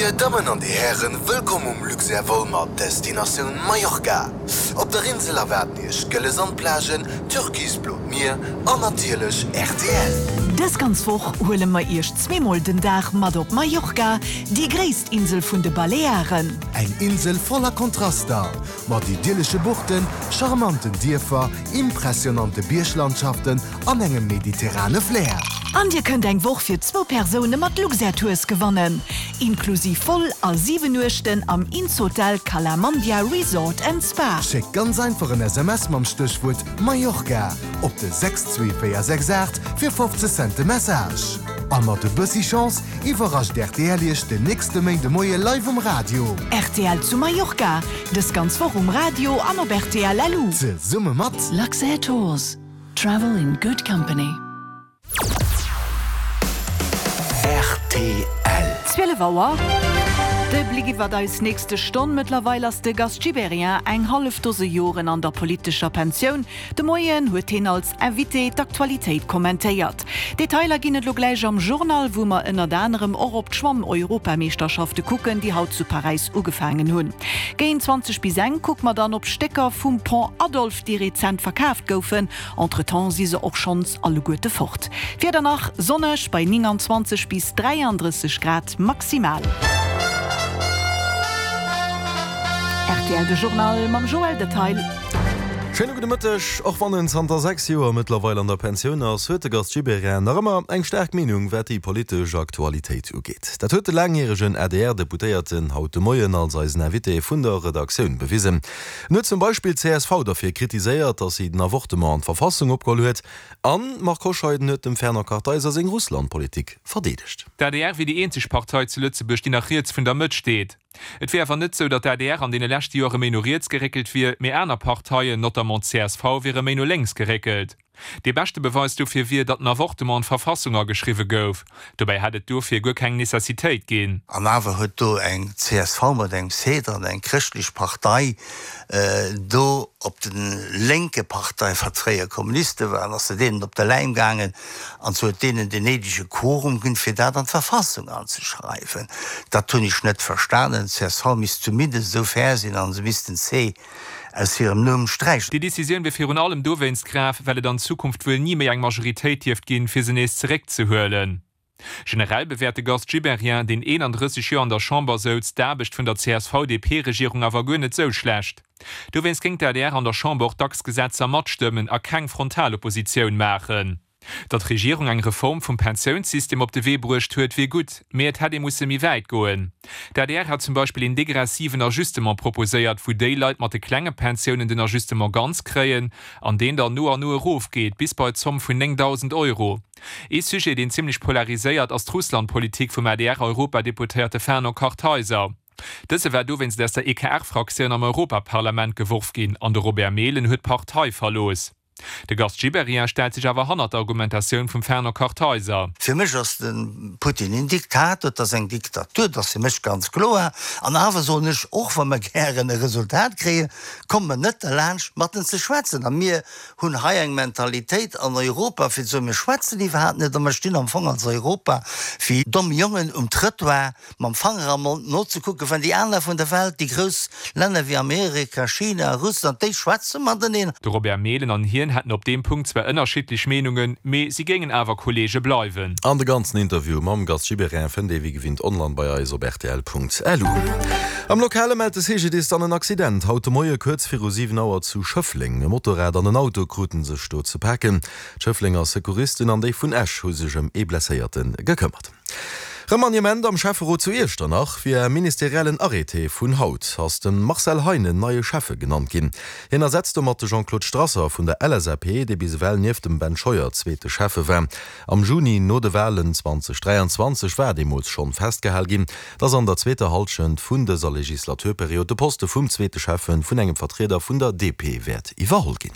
Dir Dammen an Dir Hären, wëllkomm um Luxair Vol mat Destinatioun Mallorca. Op der Insel erwaarden Iech gëlle Sandplagen, türkisblot Mier an natierlech rtl. Dës ganz Woch huele mer Iech zweemol den Dag mat op Mallorca, déi gréisst Insel vun de Balearen. Eng Insel voller Kontraster, mat idyllesche Buchten, charmanten Dierfer, impressionante Bierglandschaften an engem mediterrane Flair. An Dir kënnt eng Woch fir zwou Persoune mat Luxair Tours gewannen, inklusiv Vol a 7 Nuechten am Innshotel Cala Mandia Resort and Spa. Schéckt ganz einfach en SMS mam Stéchwuert Mallorca op de 62468 fir 50 Cent de Message. A mat e bëssi Chance iwwerrascht rtl Iech den nächste Méindemoie live um Radio. Rtl zu Mallorca, dës ganz Woch um Radio an op rtl LU. Zesumme mat. Luxair Tours. Travel in good company. Rtl. 12 Auer. De Bléck iwwert eis nächste Stonn. Mëttlerweil ass de Gast Gibéryen eng hallef Dose Joren an der politescher Pensioun. De Moien huet hien als Invité d'Aktualitéit kommentéiert. Detailer ginn et lo gläich am Journal, wou mer ënnert anerem och op d'Schwamm-Europameeschterschafte kucken, déi haut zu Paräis ugefaangen hunn. Géint 20 bis eng kucke mer dann op Stécker vum Pont Adolphe, déi rezent verkaaft goufen. Entretemps si se och schonns alleguerte fort. D'Wieder nach, Sonneg bei 29 bis 33 Grad maximal. Rtl De Journal mam Joël Detail. Schéine gudde Mëtteg. Och wann en zanter 6 Joer mëttlerweil an der Pensioun ass, huet de Gast Gibéryen nach ëmmer eng staark Meenung, wat déi politesch Aktualitéit ugeet. Dat huet de laangjäregen ADR-Deputéierten haut de Moien als eisen Invité vun der Redaktioun bewisen. En huet zum Beispill d'CSV derfir kritiséiert, datt si den Avortement an d'Verfassung opgeholl huet. An d'Marc Hoscheiden huet dem Fernand Kartheiser seng Russlandpolitik verdeedegt. D'adr wier déi eenzeg Partei zu Lëtzebuerg, déi nach riets vun der Mëtt steet. Et wier awer net sou, datt d'ADR an deene leschte Joere méi no riets geréckelt wier, mee aner Parteien, notamment d'CSV, wiere méi no lénks geréckelt. Dee beschte Beweis dofir wier, datt den Avortement an d'Verfassung ageschriwwe gouf. Dobäi hätt et dofir guer keng Necessitéit ginn. An awer huet do eng csv mat engem C dran, eng chrëschtlech Partei, do op de lénke Partei, wat fréier Kommuniste waren, ass se deenen op de Läim gaangen an se huet deenen den néidege Quorum ginn, fir dat an d'Verfassung anzeschreiwen. Dat hunn ech net verstanen. D'CSV misst zumindest esou fair sinn an se misst den C aus hirem Numm sträichen. Déi Decisioun wier virun allem dowéinst grav, well et an Zukunft wuel ni méi eng Majoritéit dierft ginn, fir se nees zeréckzehuelen. Generell bewäert de Gast Gibéryen, deen 31 Joer an der Chamber souz, d'Aarbecht vun der CSV-DP-Regierung awer guer net sou schlecht. Dowéinst géing d'ADR an der Chamber och dacks Gesetzer matstëmmen a keng frontal Oppositioun maachen. Datt d'Regierung eng Reform vum Pensiounssystem op de Wee bruecht huet, wier gutt, mee et hätt ee musse méi wäit goen. D'ADR hat zum Beispill een degressiven Ajustement proposéiert, wou déi Leit mat de klenge Pensiounen den Ajustement ganz kréien an deen dann no an no erofgeet bis bei d'Zomm vun 9.000 Euro. Ee Sujet, deen zimmlech polariséiert, ass d'Russland-Politik vum ADR-Europadeputéierte Fernand Kartheiser. Dëse war dowéinst aus der EKR-Fraktioun am Europaparlament geworf ginn an de Robert Mehlen huet d'Partei verlooss. De Gast Gibéryen stellt sech awer hannert d'Argumentatioun vum Fernand Kartheiser. Fir mech ass de Putin een Diktator, et ass eng Diktatur, dat ass fir mech ganz kloer. An awer soen ech, och wa mer gären e Resultat kréien, komme mer net derlaanscht mat en ze schwätzen. A mir hunn hei eng Mentalitéit an Europa fir ze soen, mir schwätzen iwwerhaapt net a mer stinn am Fong als Europa wéi domm Jongen um Trëttoir mam Fanger am Mond nozekucken, wann déi aner vun der Welt, déi grouss Länner wéi Amerika, China, Russland, déi schwätze mateneen. De Robert Mehlen an hien hätten op deem Punkt zwar ënnerschiddlech Meenungen, mee si géingen awer Kolleege bleiwen. An de ganzen Interview mam Gast Gibéryen fënnt ee wéi gewinnt online bei eis op rtl.lu. Am Lokale mellt de CGDIS dann en Accident haut de Moie kuerz viru 7 Auer zu Schëffleng. E Motorrad an en Auto krute sech do ze paken. D'Schëfflenger Secouristen an déi vun Esch hu sech ëm ee Blesséierte gekëmmert. Remaniement am Schäfferot zu Iechternach, Via ministeriellen Arrêté vun haut ass de Marcel Heinen neie Schäffe genannt ginn. Hien ersetzt domat de Jean-Claude Strasser vun der LSAP, dee bis ewell nieft dem Ben Scheuer zweete Schäffe war. Am Juni no de Walen 2023 war deemools schonn festgehal ginn, datt an der zweeter Hallschent vun dëser Legislaturperiod de Poste vum zweete Schäffe vun engem Vertrieder vun der DP wäert iwwerholl ginn.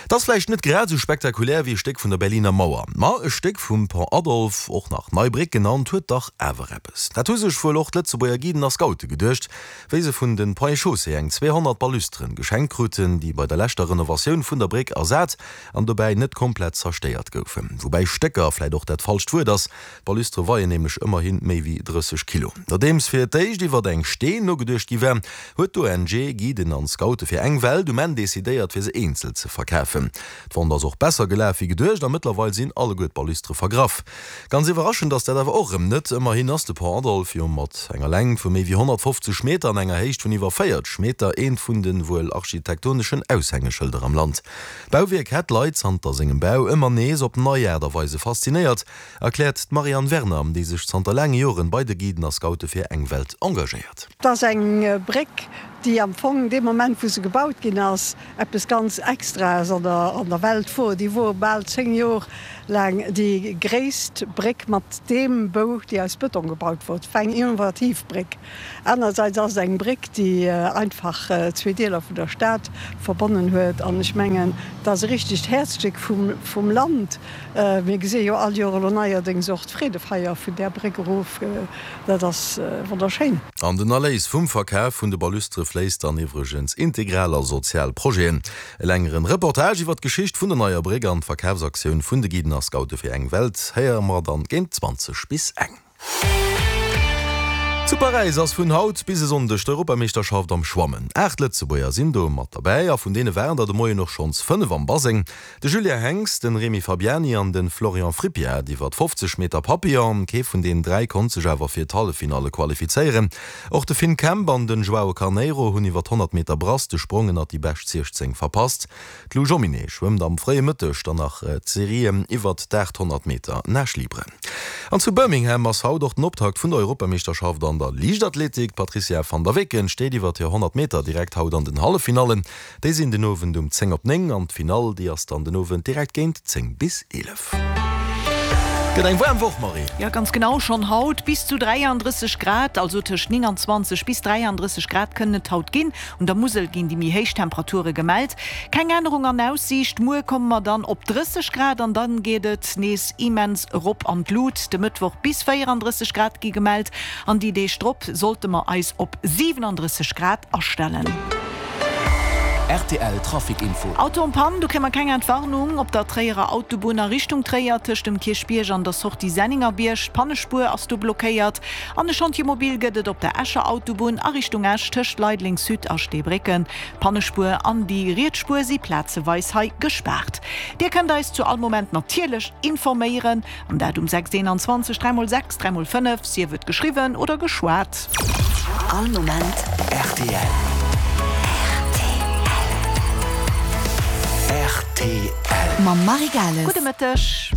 Et ass vläicht net grad esou spektakulär wéi e Stéck vun der Berliner Mauer, ma e Stéck vum Pont Adolphe, och nach Nei Bréck genannt, huet dach awer eppes. Dat hu sech wuel och d'Lëtzebuerger Guiden a Scoute geduecht, wéi se vun de Ponts et Chaussées eng 200 Balustren geschenkt kruten, déi bei der leschter Renovatioun vun der Bréck ersat an dobäi net komplett zerstéiert goufen. Woubäi Stécker vläit och dat falscht Wuert ass, D'Balustre weien nämlech ëmmerhi méi wéi 30 Kilo. Nodeems fir d'éischt iwwert eng Steen nogeduecht gi war, huet d'ONG Guiden an Scoute fir eng Welt um Enn decidéiert fir se eenzel ze verkafen. D'Vente ass och besser gelaf wéi geduecht a mëttlerweil sinn alleguer d'Balustre vergraff. Ganz iwwerraschend ass dat awer och erëm net, ëmmerhin ass de Pont Adolphe jo mat enger Längt vu méi wéi 150 Meter an enger Héicht vun iwwer 40 Meter eent vun de wuel architektoneschen Aushängeschëlder am Land. D'Bauwierk hätt d'Leit zanter sengem Bau ëmmer nees op nei Aart a Weise faszinéiert. Erkläert d'Marianne Werner, déi sech zanter laange Joren bei de Guiden a Scoute fir eng Welt engagéiert. Et ass eng Bréck, déi am Fong dee Moment, wou se gebaut ginn ass, eppes ganz Extraes an der Welt wor. Déi wor bal 10 Jor laang déi gréisst Bréck mat deem Bou, déi aus Bëtong gebaut wor. Et war eng innovativ Bréck. Anerersäits ass et eng Bréck, déi einfach zwee Deeler vun der Stad verbonnen huet. An ech mengen, et ass e richtegt Häerzstéck vum Land. Mir gesi jo all Joer elo neierdéngs och d'Freedefeier vun där Bréck erof. Dat ass wonnerschéin. An den Erléis vum Verkaf vun de Balustere fléisst dann iwwregens integral a sozial Projeten. E längeren Reportage iwwer d'Geschicht vun der neier Bréck an d'Verkafsaktioun vun de Guiden a Scoute fir eng Welt héiere mer dann géint 20 bis eng. Zu Paräis ass vun haut bis e Sonndeg d'Europameeschterschaft am Schwammen. 8 Lëtzebuerger sinn do mat derbäi a vun deene waren der de Moien och schonns 5 am Baseng. De Julien Henx, de Remy Fabiani an de Florian Frippiat iwwert 50 Meter Papillon. Kee vun deenen 3 konnt sech awer fir d'Halleffinalle qualifizéieren. Och de Finn Kemp an den Joao Carneiro hunn iwwert 100 Meter Brass de Sprong ënnert déi bescht 16 verpasst. D'Lou Jomminet schwëmmt am fréie Mëtteg dann nach d'Serien iwwert d'800 Meter Nage libre. An zu Birmingham ass haut och den Optakt vun der Europameeschterschaft an der Liichtathletik. D'Patrizia van der Weken steet iwwert hir 100 Meter direkt haut an den Halleffinallen. Déi sinn den Owend um 10 op 9 an d'Finall déi ass dann den Owend direkt géint 10 bis 11. Gëtt eng waarm Woch, Marie. Jo, ganz genau, schonn haut bis zu 33 Grad, also tëscht 29 bis 33 Grad kënnen et haut ginn. Un der Musel ginn déi méi héich Temperature gemellt. Keng Ännerung an Aussiicht, muer komme mer dann op 30 Grad an dann geet et nees immens erop an d'Lut. De Mëttwoch bis 34 Grad gi gemellt an déi Deeg drop sollte mer eis op 37 Grad astellen. Rtl Trafic Info. Auto en panne, do kréie mer keng Entwarnung. Op der Tréierer Autobunn a Richtung Tréier tëscht dem Kierchbierg an der Sortie Senningerbierg, d'Pannespuer ass do blockéiert. An e Chantier mobile gëtt et op der Escher Autobunn a Richtung Esch tëscht Leideleng Sud a Steebrécken. D'Pannespuer an déi riets Spuer si plazeweis hei gespaart. Dir kënnt eis zu all Moment natierlech informéieren, an dat um 6 21 3 x 6 3 x 5, sief et geschriwwen oder geschwat. All Moment rtl. Rtl. Mam Marie Gales. Gudde Mëtteg.